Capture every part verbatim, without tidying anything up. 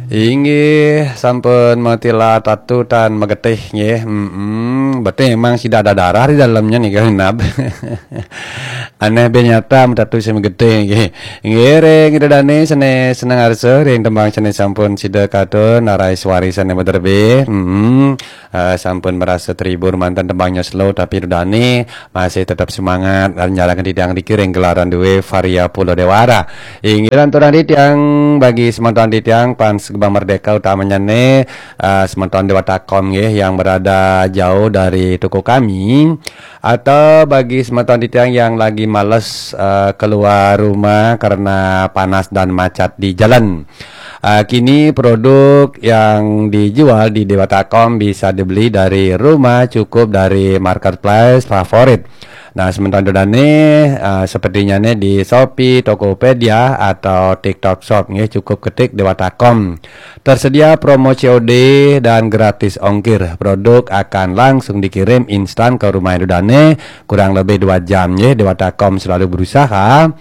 Inggih, sampun matilah tatu tan magetih nggih. Mm-mm. Berarti memang sida ada darah di dalamnya nih, genap. Aneh be nyata tatu sing magetih nggih. Inggih, ring Ida Dane sane seneng arsa ring tembang sane sampun sida katun, narai suari sane maderbe. Mm-mm. Eh, sampun merasa terhibur mantan tembangnya slow, tapi Ida Dane masih tetap semangat lan nyarengin titiang niki ring gelaran duwe Varia Pulo Dewara. Inggih lanturang titiang, bagi semeton titiang pan segembar merdeka, utamanya ne, eh, semeton Dewata Kom nggih yang berada jauh dari toko kami, atau bagi semeton titiang yang lagi males, eh, keluar rumah karena panas dan macet di jalan. Eh, kini produk yang dijual di Dewata Kom bisa dibeli dari rumah, cukup dari marketplace favorit. Nah, sementara Ida Dane, eh, sepertinya nih di Shopee, Tokopedia, atau TikTok Shop nggih, cukup ketik Dewata Kom. Tersedia promo C O D dan gratis ongkir. Produk akan langsung dikirim instan ke rumah Ida Dane, kurang lebih dua jam nggih. Dewata Kom selalu berusaha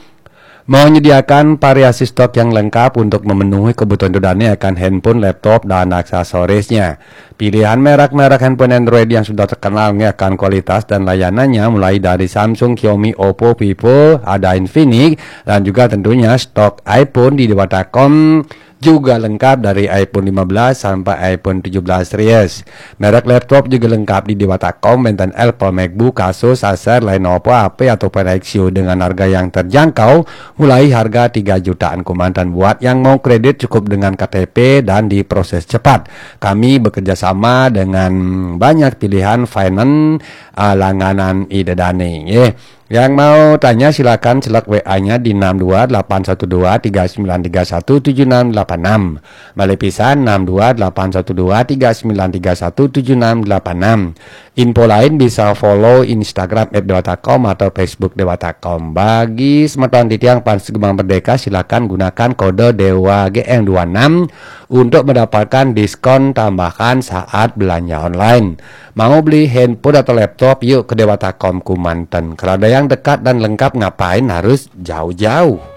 menyediakan variasi stok yang lengkap untuk memenuhi kebutuhan Ida Dane akan handphone, laptop, dan aksesorisnya. Pilihan merek-merek handphone Android yang sudah terkenal nggih akan kualitas dan layanannya, mulai dari Samsung, Xiaomi, Oppo, Vivo, ada Infinix, dan juga tentunya stok iPhone di Dewata Kom juga lengkap dari iPhone lima belas sampai iPhone tujuh belas series. Merek laptop juga lengkap di Dewata Kom, wenten Apple MacBook, Asus, Acer, Lenovo, H P, ataupun Axioo dengan harga yang terjangkau, mulai harga tiga jutaan kemanten. Buat yang mau kredit, cukup dengan K T P dan diproses cepat. Kami bekerja sama dengan banyak pilihan finance, ah, langganan Ida Dane nggih. Yang mau tanya, silakan selek W A-nya di enam dua delapan satu dua tiga sembilan tiga satu tujuh enam delapan enam. Malih pisan, enam dua delapan satu dua tiga sembilan tiga satu tujuh enam delapan enam. Info lain bisa follow Instagram at dewata com atau Facebook Dewata Com. Bagi semeton titiang pan segembar merdeka, silakan gunakan kode Dewa G M dua enam untuk mendapatkan diskon tambahan saat belanja online. Mau beli handphone atau laptop, yuk ke Dewata Com kemanten. Kalau ada yang dekat dan lengkap, ngapain harus jauh-jauh?